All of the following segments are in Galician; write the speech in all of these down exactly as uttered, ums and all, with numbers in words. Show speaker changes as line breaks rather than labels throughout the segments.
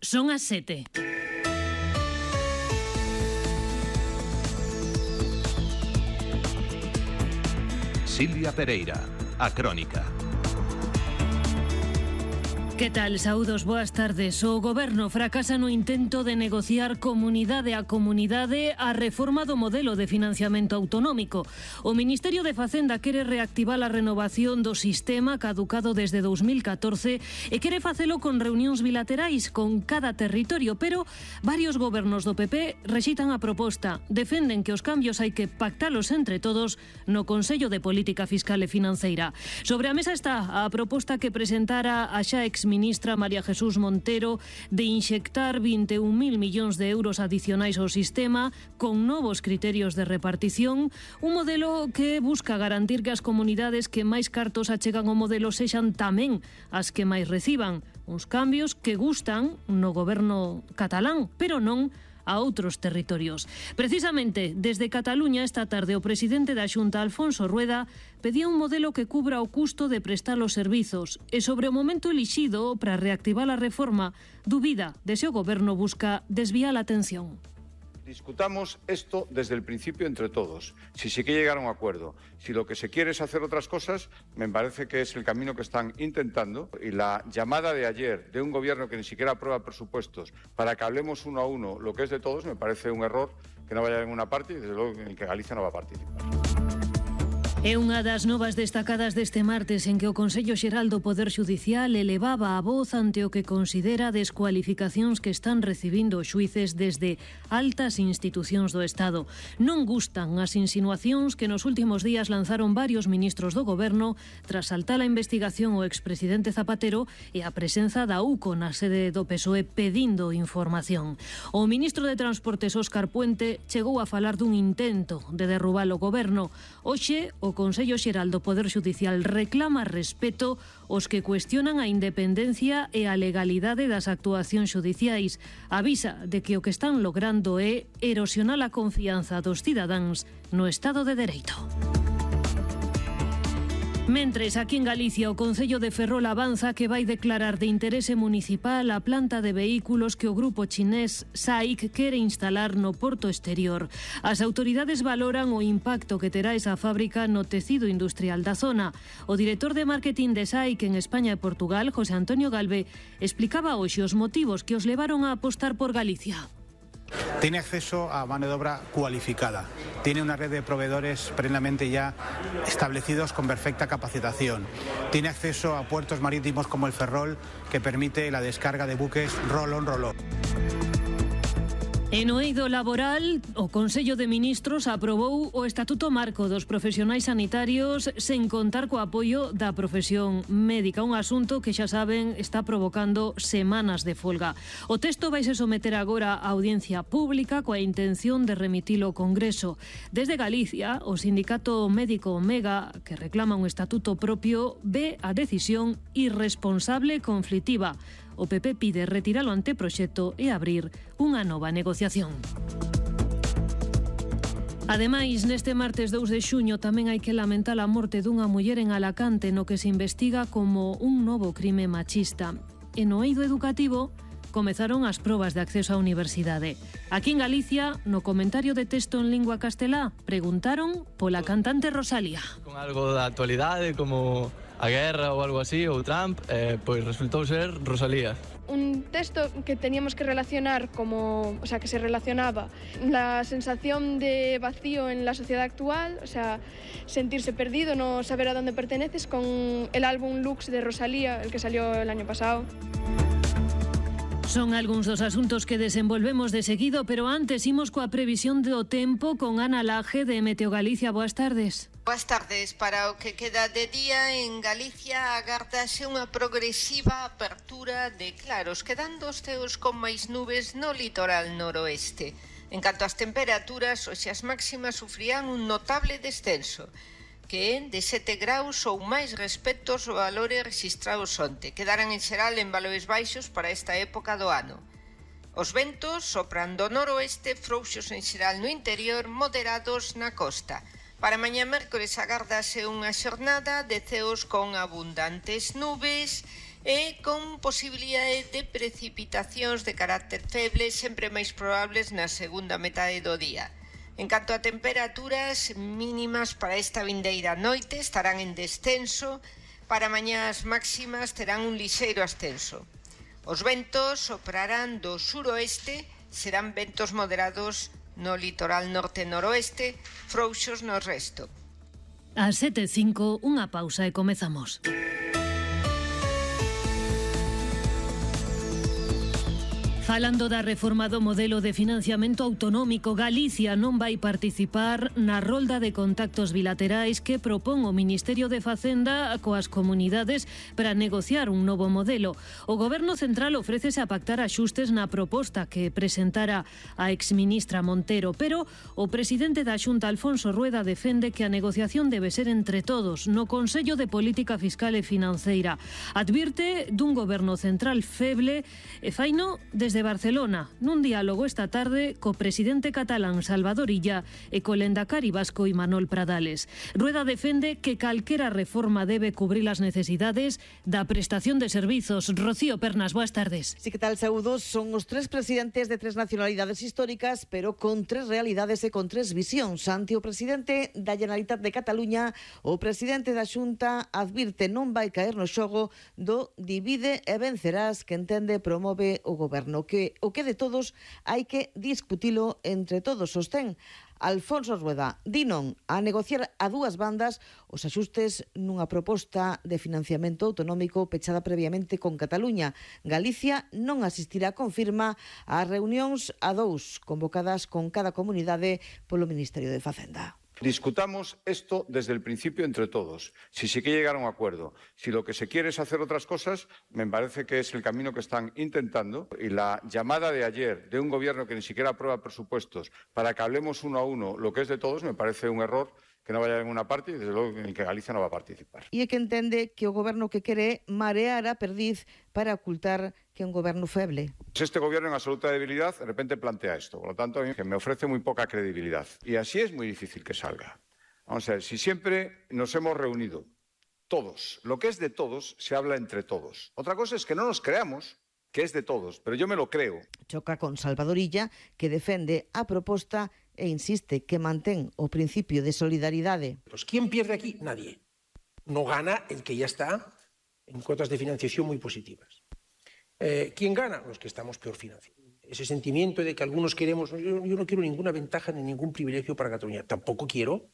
Son as sete.
Silvia Pereira, a Crónica.
Que tal? Saúdos, boas tardes. O Goberno fracasa no intento de negociar comunidade a comunidade a reforma do modelo de financiamento autonómico. O Ministerio de Facenda quere reactivar a renovación do sistema caducado desde dous mil catorce e quere facelo con reunións bilaterais con cada territorio, pero varios gobernos do P P rexitan a proposta. Defenden que os cambios hai que pactalos entre todos no Consello de Política Fiscal e Financeira. Sobre a mesa está a proposta que presentara a xa ex ministra María Jesús Montero de inxectar vinte e un mil millóns de euros adicionais ao sistema con novos criterios de repartición, un modelo que busca garantir que as comunidades que máis cartos achegan ao modelo sexan tamén as que máis reciban. Uns cambios que gustan no goberno catalán, pero non a outros territorios. Precisamente, desde Cataluña esta tarde o presidente da Xunta, Alfonso Rueda, pedía un modelo que cubra o custo de prestar os servizos e sobre o momento elixido para reactivar a reforma, dubida de se o goberno busca desviar a atención.
Discutamos esto desde el principio entre todos, si se quiere llegar a un acuerdo. Si lo que se quiere es hacer otras cosas, me parece que es el camino que están intentando. Y la llamada de ayer de un gobierno que ni siquiera aprueba presupuestos para que hablemos uno a uno lo que es de todos, me parece un error que no vaya a ninguna parte y desde luego en el que Galicia no va a participar.
É unha das novas destacadas deste martes en que o Consello Xeral do Poder Xudicial elevaba a voz ante o que considera descualificacións que están recibindo os xuíces desde altas institucións do Estado. Non gustan as insinuacións que nos últimos días lanzaron varios ministros do Goberno tras saltar a investigación o expresidente Zapatero e a presenza da U C O na sede do P S O E pedindo información. O ministro de Transportes, Óscar Puente, chegou a falar dun intento de derrubar o Goberno. Hoxe, o Consello Xeral do Poder Xudicial reclama respeto aos que cuestionan a independencia e a legalidade das actuacións xudiciais. Avisa de que o que están logrando é erosionar a confianza dos cidadáns no Estado de Dereito. Mentres, aquí en Galicia, o Concello de Ferrol avanza que vai declarar de interese municipal a planta de vehículos que o grupo chinés S A I C quere instalar no porto exterior. As autoridades valoran o impacto que terá esa fábrica no tecido industrial da zona. O director de marketing de S A I C en España e Portugal, José Antonio Galve, explicaba hoxe os motivos que os levaron a apostar por Galicia.
Tiene acceso a mano de obra cualificada, tiene una red de proveedores plenamente ya establecidos con perfecta capacitación, tiene acceso a puertos marítimos como el Ferrol, que permite la descarga de buques roll-on, roll-off.
En o eido laboral, o Consello de Ministros aprobou o Estatuto Marco dos Profesionais Sanitarios sen contar co apoio da profesión médica, un asunto que xa saben está provocando semanas de folga. O texto vaise someter agora á audiencia pública coa intención de remitilo ao Congreso. Desde Galicia, o sindicato médico Omega, que reclama un estatuto propio, ve a decisión irresponsable e conflitiva. O P P pide retirar o anteproxecto e abrir unha nova negociación. Ademais, neste martes dous de xuño tamén hai que lamentar a morte dunha muller en Alacante no que se investiga como un novo crime machista. E no eido educativo comezaron as probas de acceso á universidade. Aquí en Galicia, no comentario de texto en lingua castelá, preguntaron pola cantante Rosalía.
Con algo da actualidade como a guerra ou algo así, ou Trump, eh, pois resultou ser Rosalía.
Un texto que teníamos que relacionar como, o sea, que se relacionaba la sensación de vacío en la sociedad actual, o sea, sentirse perdido, no saber a dónde perteneces, con el álbum Lux de Rosalía, el que salió el año pasado.
Son algúns dos asuntos que desenvolvemos de seguido, pero antes imos coa previsión do tempo con Ana Laje de Meteo Galicia. Boas tardes.
Boas tardes. Para o que queda de día en Galicia agárdase unha progresiva apertura de claros, quedando os ceos con máis nubes no litoral noroeste. En canto ás temperaturas, hoxe as máximas sufrían un notable descenso, que é de sete graus ou máis respecto aos valores rexistrados onte. Quedaran en xeral en valores baixos para esta época do ano. Os ventos sopran do noroeste, frouxos en xeral no interior, moderados na costa. Para mañá mércores agárdase unha xornada de ceos con abundantes nubes e con posibilidade de precipitacións de carácter feble sempre máis probables na segunda metade do día. En canto a temperaturas mínimas para esta vindeira noite estarán en descenso, para mañás máximas terán un lixeiro ascenso. Os ventos soprarán do suroeste, serán ventos moderados no litoral norte-noroeste, frouxos no resto.
A sete e cinco, unha pausa e comezamos. Falando da reforma do modelo de financiamento autonómico, Galicia non vai participar na rolda de contactos bilaterais que propón o Ministerio de Facenda coas comunidades para negociar un novo modelo. O Goberno Central ofrécese a pactar axustes na proposta que presentara a exministra Montero, pero o presidente da Xunta, Alfonso Rueda, defende que a negociación debe ser entre todos no Consello de Política Fiscal e Financeira. Advirte dun Goberno Central feble e faino desde Barcelona, nun diálogo esta tarde co presidente catalán Salvador Illa e co lendakari vasco Imanol Pradales. Rueda defende que calquera reforma debe cubrir as necesidades da prestación de servizos. Rocío Pernas, boas tardes.
Sí, que tal, saúdos? Son os tres presidentes de tres nacionalidades históricas, pero con tres realidades e con tres visións. Ante o presidente da Generalitat de Cataluña, o presidente da Xunta advirte non vai caer no xogo do divide e vencerás que entende promove o goberno, que o que de todos hai que discutilo entre todos, sostén Alfonso Rueda. Di non a negociar a dúas bandas os axustes nunha proposta de financiamento autonómico pechada previamente con Cataluña. Galicia non asistirá, confirma, ás reunións a dous convocadas con cada comunidade polo Ministerio de Facenda.
Discutamos esto desde el principio entre todos. Si se quiere llegar a un acuerdo, si lo que se quiere es hacer otras cosas, me parece que es el camino que están intentando. Y la llamada de ayer de un gobierno que ni siquiera aprueba presupuestos para que hablemos uno a uno lo que es de todos, me parece un error que no vaya a ninguna parte y desde luego en el que Galicia no va a participar.
E é que entende que o goberno que quere marear a perdiz para ocultar que é un goberno feble.
Este gobierno en absoluta debilidad de repente plantea esto, por lo tanto a mí me ofrece muy poca credibilidad y así es muy difícil que salga. Vamos a ver, si siempre nos hemos reunido todos, lo que es de todos se habla entre todos. Otra cosa es que no nos creamos que es de todos, pero yo me lo creo.
Choca con Salvador Illa, que defende a proposta e insiste que mantén o principio de solidaridade.
Pues ¿quién pierde aquí? Nadie. No gana el que ya está en cuotas de financiación muy positivas. Eh, ¿Quién gana? Los que estamos peor financiados. Ese sentimiento de que algunos queremos... Yo, yo no quiero ninguna ventaja ni ningún privilegio para Cataluña. Tampoco quiero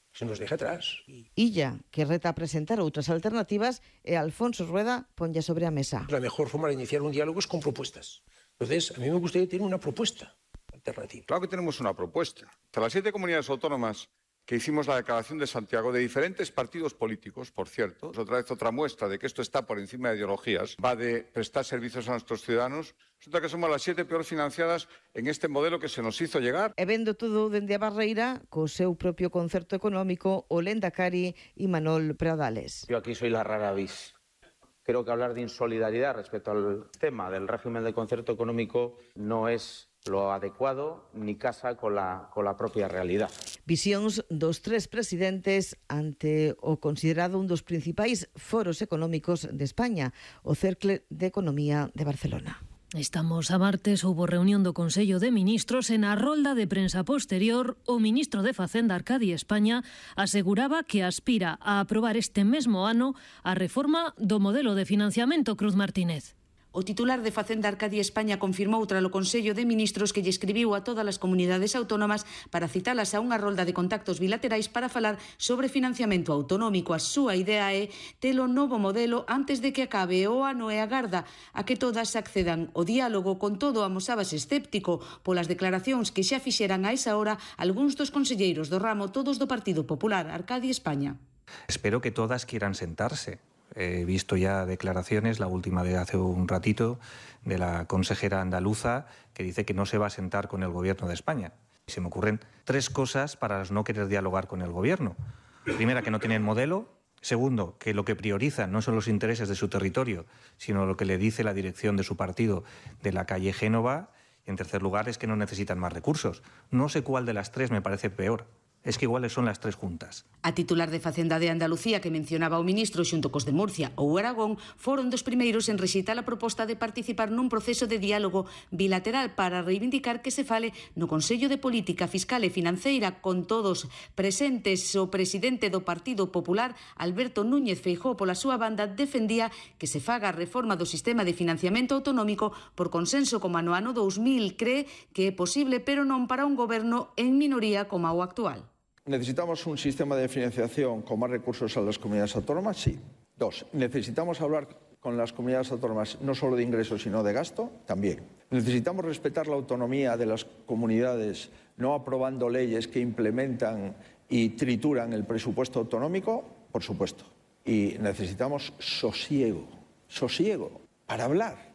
que se nos deje atrás.
Illa, que reta a presentar outras alternativas, e Alfonso Rueda ponlle sobre a mesa.
La mejor forma de iniciar un diálogo es con propuestas. Entonces, a mí me gustaría tener una propuesta alternativa.
Claro que tenemos una propuesta. De las siete comunidades autónomas que hicimos la declaración de Santiago, de diferentes partidos políticos, por cierto, es otra vez otra muestra de que esto está por encima de ideologías, va de prestar servicios a nuestros ciudadanos. Resulta que somos las siete peor financiadas en este modelo que se nos hizo llegar.
E vendo todo dende a barreira, co seu propio concerto económico, o lendakari Imanol Pradales.
Yo aquí soy la rara avis. Creo que hablar de insolidaridad respecto al tema del régimen de concierto económico no es lo adecuado ni casa con la, con la propia realidad.
Visións dos tres presidentes ante o considerado un dos principais foros económicos de España, o Cercle de Economía de Barcelona.
Estamos a martes, houbo reunión do Consello de Ministros e na rolda de prensa posterior o ministro de Facenda, Arcadi España, aseguraba que aspira a aprobar este mesmo ano a reforma do modelo de financiamento. Cruz Martínez.
O titular de Facenda, Arcadi España, confirmou tras o Consello de Ministros que lle escribiu a todas as comunidades autónomas para citalas a unha rolda de contactos bilaterais para falar sobre financiamento autonómico. A súa idea é ter o novo modelo antes de que acabe o ano e agarda a que todas accedan ao diálogo. Con todo, amosábase escéptico polas declaracións que xa fixeran a esa hora algúns dos conselleiros do ramo, todos do Partido Popular. Arcadi España.
Espero que todas quieran sentarse. He visto ya declaraciones, la última de hace un ratito, de la consejera andaluza, que dice que no se va a sentar con el Gobierno de España. Se me ocurren tres cosas para no querer dialogar con el Gobierno. Primera, que no tienen modelo. Segundo, que lo que priorizan no son los intereses de su territorio, sino lo que le dice la dirección de su partido de la calle Génova. Y en tercer lugar, es que no necesitan más recursos. No sé cuál de las tres me parece peor. es que iguales son las tres juntas.
A titular de Facenda de Andalucía que mencionaba o ministro xunto cos de Murcia ou Aragón foron dos primeiros en rexeitar a proposta de participar nun proceso de diálogo bilateral para reivindicar que se fale no Consello de Política Fiscal e Financeira con todos presentes. O presidente do Partido Popular, Alberto Núñez Feijóo, pola súa banda, defendía que se faga a reforma do sistema de financiamento autonómico por consenso como no ano dous mil. Cree que é posible, pero non para un goberno en minoría como o actual.
¿Necesitamos un sistema de financiación con más recursos a las comunidades autónomas? Sí. Dos, ¿necesitamos hablar con las comunidades autónomas no solo de ingresos sino de gasto? También. ¿Necesitamos respetar la autonomía de las comunidades no aprobando leyes que implementan y trituran el presupuesto autonómico? Por supuesto. Y necesitamos sosiego, sosiego para hablar.